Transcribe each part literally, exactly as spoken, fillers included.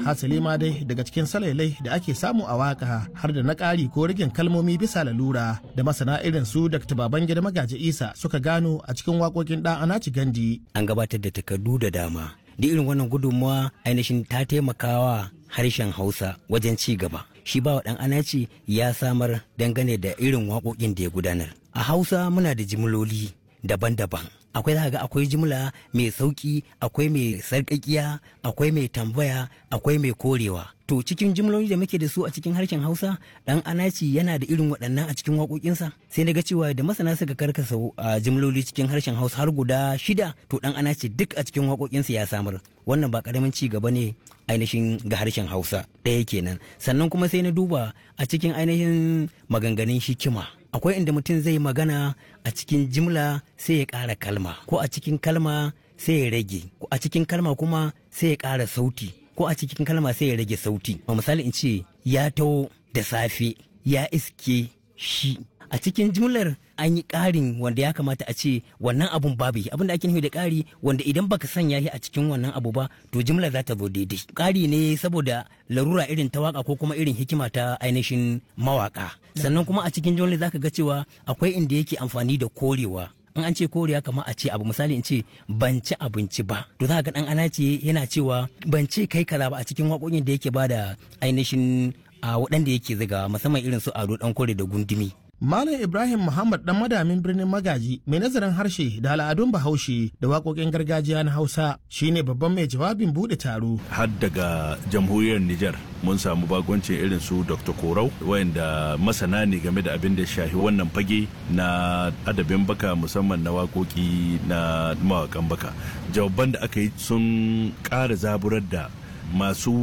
Hasali ma dai daga cikin salailai da ake samu a waka har da na ƙari ko rigin kalmomi bisa lalura da masana irin su Dakta Babangida Magaji Isa suka gano a cikin waƙoƙin ɗan Anaci Gandi. An gabatar da takardu da dama. Da irin wannan gudunmawa ainihin ta taimakawa harshen Hausa wajen ci gaba. Shi ba ɗan Anaci ya samar dangane da irin waƙoƙin da ya gudanar. A Hausa muna da jimloli daban-daban. Akwai za ga akwai jimla mai sauki, akwai mai sarƙaƙiya, akwai mai tambaya, akwai mai korewa. To cikin jimloli da muke da su a cikin harshen Hausa, dan Anaci yana da irin waɗannan a cikin waƙoƙinsa. Sai na ga cewa da masana suka karkasa a jimloli cikin harshen Hausa har guda shida, to dan Anaci duk a cikin waƙoƙinsa ya samar. Wannan ba ƙaramin ci gaba ne ainihin ga harshen Hausa ɗaya kenan. Sannan kuma sai na duba a cikin ainihin maganganun hikima. Akwai inda mutum zai magana a cikin jimla sai ya ƙara kalma, ko a cikin kalma sai ya rage, ko a cikin kalma kuma sai ya ƙara sauti, ko a cikin kalma sai ya rage sauti. A misali in ce ya taho da safe ya iske shi. A cikin jimlar an yi ƙarin wanda ya kamata a ce wannan abun babu shi. Abin da ake nufi da ƙari wanda idan baka sanya shi a cikin wannan abu ba to jimlar za ta zo daidai. Ƙari ne saboda larura irin ta waka ko kuma irin hikima ta ainihin mawaka. Sannan kuma a cikin jimlar zaka ga cewa akwai inda yake amfani da korewa. In an ce koriya kamar a ce abu, misali in ce ban ci abinci ba, to za ka ga dan Anace yana cewa ban ce kai kaza ba a cikin waƙoƙin da yake bada ainihin a waɗanda yake zigawa, musamman irin su Ado Dan Kore da Gundumi. Malam Ibrahim Muhammad dan madamin birnin Magaji mai nazarin harshe da al'adun Bahaushe da waƙoƙin gargajiya na Hausa shine babban mai jawabin buɗe taro. Har daga jamhuriyar Nijar mun samu bagoncin irin su Doctor Korau, wayanda masana ne game da abin da shahi wannan fage na adabin baka, musamman na waƙoƙi na mawaƙan baka. Jawaban da aka yi sun ƙara zaburar da masu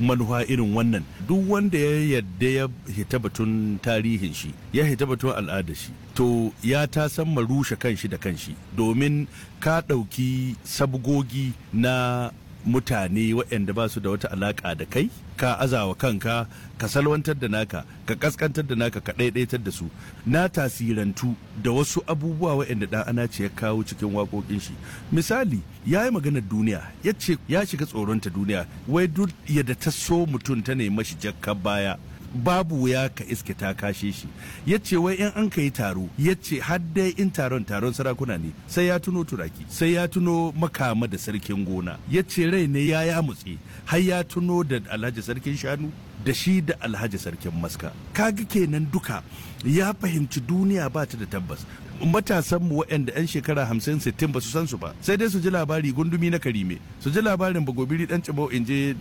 manufa irin wannan. Duk wanda ya yadda ya hita batun tarihin shi, ya hita batun al'adar shi, to ya ta san rushe kanshi da kanshi, domin ka ɗauki sabgogi na mutane waɗanda ba su da wata alaƙa da kai, ka azawa kanka, ka salwantar da naka, ka kaskantar da naka, ka ɗaiɗaitar da su. Na tasirantu da wasu abubuwa waɗanda ɗan Anace ya kawo cikin waƙoƙin shi. Misali, ya yi maganar duniya, ya ce ya shiga tsoronta duniya, wai duk yadda ta so mutum ta nemi shi jakka baya, babu wuya ka iske ta kashe shi. Ya ce wai in an ka yi taro, ya ce har dai in taron taron sarakuna ne, sai ya tuno Turaki, sai ya tuno Makama da sarkin gona. Ya ce rai ne ya ya mutse har ya tuno da Alhaji sarkin shanu da shi da Alhaji sarkin maska. Kaga kenan duka ya fahimci duniya ba ta da tabbas. Matasan mu waɗanda 'yan shekara hamsin sittin ba su san su ba, sai dai su ji labari Gundumi na Karime, su ji labarin Bagobiri Dan Cibau, in je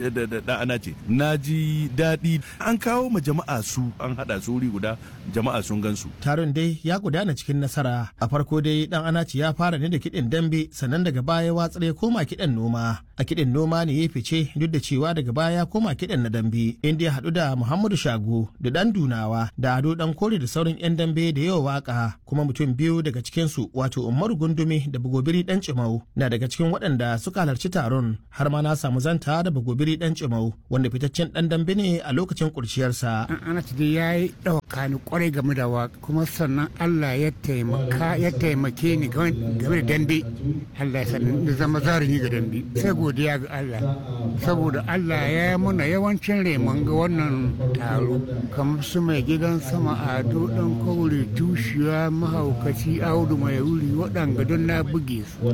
da ana ce na ji daɗi an kawo ma jama'a su, an haɗa su wuri guda, jama'a sun gan su. Taron dai ya gudana cikin nasara. A farko dai dan Anaci ya fara ne da kiɗin dambe, sannan daga baya watsar ya koma kiɗan noma. A kiɗin noma ne ya fice, duk da cewa daga baya ya koma kiɗan na dambe, inda ya haɗu da Muhammadu Shago da Dan Dunawa da Ado Dan Kore da sauran 'yan dambe da yawa waka. Kuma mutum biyu daga cikinsu, wato Umaru Gundumi da Bagobiri Dan Cimau, na daga cikin waɗanda suka halarci taron. Har ma na samu zanta da Bagobiri Dan Cimau, wanda fitaccen ɗan dambe ne a lokacin kurciyarsa. Anaci dai ya yi ɗauka ni kwarai game da waka, kuma sannan Allah ya taimaka ya taimake ni game da dambe. Allah ya sanin na zama zarumi ga dambe, sai godiya ga Allah, saboda Allah ya yi muna yawancin remon ga wannan taro, kamar su mai gidan sama Ado Dan Kaure, Tushiya, Mahaukaci, Audu Mai Wuri, waɗanga don na buge su.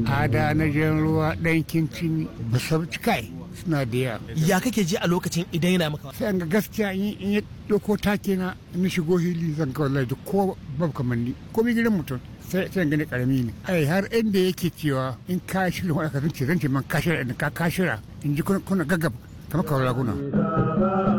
Ada na Jan Ruwa, Ɗan Kincin Basabci, kai suna da yawa. Ya kake ji a lokacin idan yana maka? Sai an ga gaskiya in ya ɗauko take na in shigo hili, zan ga wallahi duk ko babu kamar ni, ko mi gidan mutum sai sai gani karami ne. Ai har inda yake cewa in ka shirya wani ka zance zance man ka shirya, ka ka shirya in ji kuna gaggab kamar kawai raguna.